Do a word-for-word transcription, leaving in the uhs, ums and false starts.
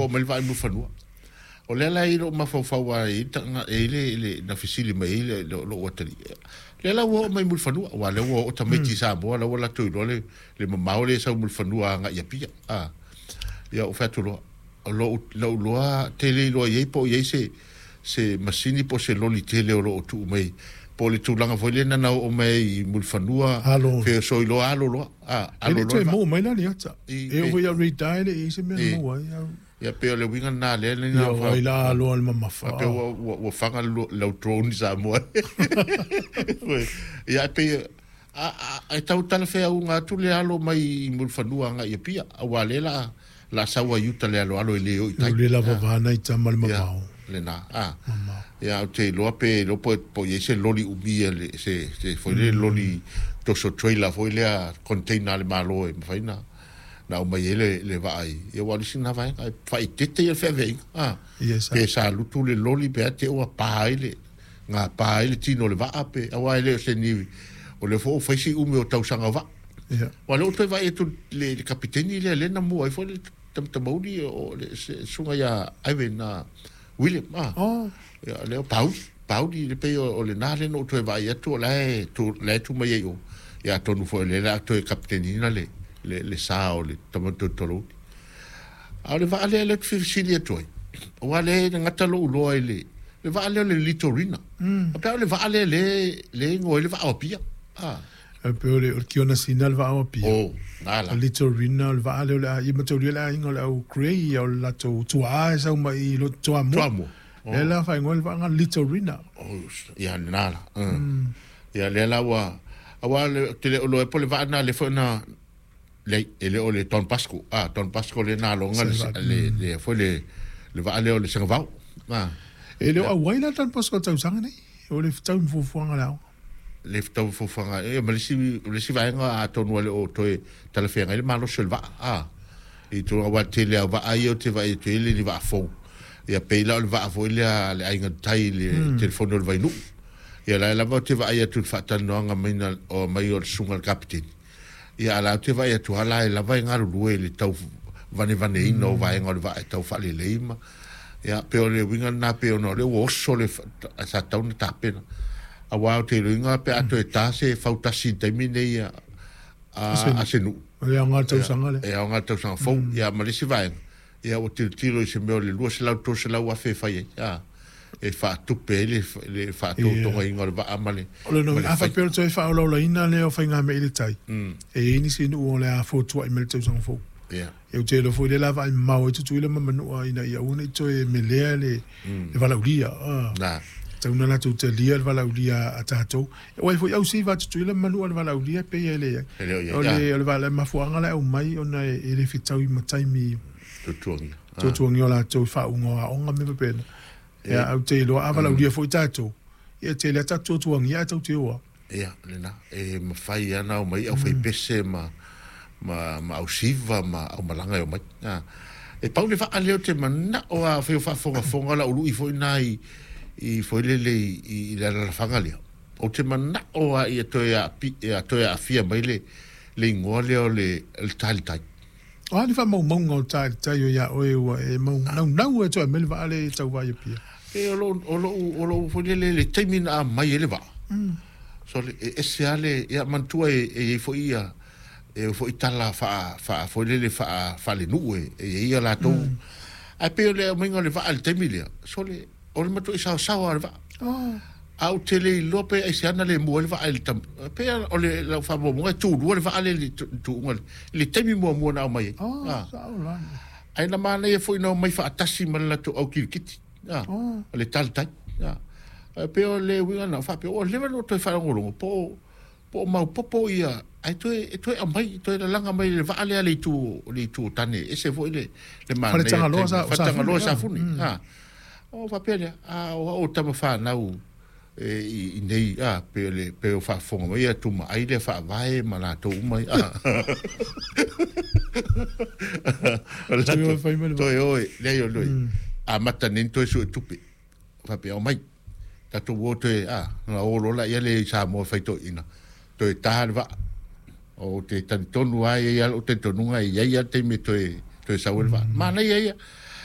oo mai le vaa i Mulifanua. O lea la e i lou mafaufau lava e i ai e i ai le na fesili mai ai le lou atalii. Lea la ua oo mai Mulifanua, aua o lea ua oo tamaiti i Samoa, la ua latou iloa le le mamao lea e sau i Mulifanua agai i Apia. A, ia ou fai atu loa, o lou lou iloa tele iloa i ai po o i ai se se masini po o se loli tele o lo o tuu mai po o le tulaga foi lea na oo mai ai i Mulifanua, Alo. feosoi loa alo loa. A, E alo le loa toe le vaa. maua mai la le ata. I, E oo pe, foi ia retire e le i ai se mea na i, maua ai. Au. Ia pei o le uiga lena lea Ia na o ai la aloa le mamafa. faapea ua ua ua faga lau drone i Samoa. Ia pei a a e tau talafeauga atu le alo mai i Mulifanua agai i Apia, aua lea la la sau ai uta le aloalo e le o i O tai. le lava Ah, vana i tama le ia mamao. lena. Ah, Mamao. ia ou te iloa pe iloa po po i ai se loli umia le se se foi le loli toso trailer foi lea container a le Malo e mafai na na aumai ai le le vaa i ia ua o le isi lena vaega e faaeteete ia le feaveaiga ah Ia sa. pe sa lutu le loli pe a te ua pa ai le gapa ai le tino o le vaa pe aua e le o se nivi o le foi ua fai si umi o tausaga o vaa Ia. ua lea ua toe vaai atu le, le kapiteni lea lea na mua ai foi le tamauli o le se- susuga ia Ivan ah, William ah Oh. ia lea o Pauli Pauli le pei o o lena lea na ou toe vaai atu o la e tu la e tu mai ai o ia atonu foi o lea la toe kapiteniina le le le sa o le tamatoitolouli a o le vaa lea lea ou te fesili atu ai aua lea e gata lou iloa i le le vaa lea o le Litorina Mm. a pe o le vaa lea le le igoa ai le vaa o Apia ah E pe o le o le Kiona Sina le vaa o Apia. o na O la Litorina o le vaa lea o le a ia mataulia le aiga o le au Grey ia o le latou tuaa e sau mai i lo Toamua. Toamua Lea o la faaigoa le vaa Litorina. o ia lena la mm. Ia lea la ua aua le te le o loa po le vaa na le foi na le e le o le Don Pasco ah Don Pasco le na longa Se le vaa. le le foi le le vaa lea o le Sengavao ah E le o ia auai la Don Bosco tausaga nei. O le fetau ma fuafuaga le aoga. Le fetau fofoga e ma le isi le isi vaega atonu e le o toe talafeagai le malosi o le vaa ah i tulaga aua tele a vaa ia ou te vaai atu ai le ni vaa fou ia pei la o le vaa foi lea le aiga tai le telefoni o le Vainuu ia la e lava ou te vaai atu i le faatalanoaga mai na o mai o le susuga i le kapiteni ia a la ou te vaai atu lava la e lava e galulue i le tau vanevaneina o vaega o le vaa e tau faalelei ma ia pe o le uiga lena pe ona o lea ua oso le sa tau na tapena aua o te iloiga pe a toe ta se fautasi i le taimi nei a Ase a nuu. a se nuu O le aoga ia tausaga lea. e aoga tausaga fou ia ma le isi vaega ia ua tilotilo i se mea o le lua selau tolu selau afe e fai ai a e faatupe ai le le Ia. faatotogaiga o le vaa ma le O le ma no le a fai faapea o le toe faaolaolaina lea o faigamea i le tai. mm E i ai nisi nuu o le a fotuai mai le tausaga fou. ia E ou te iloa foi lea la vaai mamao ai Tutuila ma Manua ina ia aua ne i toe melea le mm le valaaulia. Ah. na Tau na latou talia le valaaulia a tatou. Aua e foi au siva a Tutuila ma Manua le valaaulia pe ia e leai. E le o i O ai ah le o le vala mafuaaga la e aumai ona e e le fetau ma taimi tutuagia ah tuatuagia o latou i faauga o aoga me faapena. Ia e au te iloa a mm valaaulia foi tatou. Ia tele a tatou tuatuagia ae tau te oa. Ia lena e mafai lava ona aumai aufaipese ma ma ma ausiva ma aumalaga e omai ah e pau le vaa lea o te manao a fai o faafogafoga la ului foi na i i foi lele i i i le alalafaga lea ou te manao a ia toe aapi ia toe aafia mai le le igoa lea o le le talitai. O a ni faamaumauga o talitai o ia oe ua e mau naunau e toe aumai le vaa lea e tau vaai Apia. E o lou o lou o lou foi lele le taimi na aumai ai le vaa so le e ese lava le ia manatua e e iai foi ia e foi tala faa faa foi lele faa faalenuu e e iai ia latou ae pei o le aumaiga o le vaa i le taimi lea so le o le matuai saosaoa o le vaa Oh. a ou te le iloa pe aiseana le mua ai le vaa i le tam pe o le lau faamaumauga e tulua le vaa lea i le tuuga i le taimi muamua na aumai ai Oh, ah sao la. ae na manaia foi na omai faatasi ma le latou au kilikiti ah Oh. o le talitai ah ae pei o le uiga na faapea ua leva ona ou toe faalogologo po o po o maopoopo ia ae toe e toe aumai toe lalaga mai le vaa lea le itu le itu o tane ese foi le le manaia Faletagaloa taimi sa o faletagaloa Safune. Safune Mm. ah o faapea lea a o au tama fanau e i i nei a pe o le pe o faafofoga mai ia tumaai lea faavae ma latou uma a o le Toe latou o e fai mai le vaa. toe o e leai o loi amata nei toe sue tupe faapea omai tatou o toe a na o loa laia le i Samoa e faitoeina toe tā le vaa o te talitonu lava e i ai lava lou talitonuga e i ai lava le taimi e toe toe sau ai le vaa manaia ia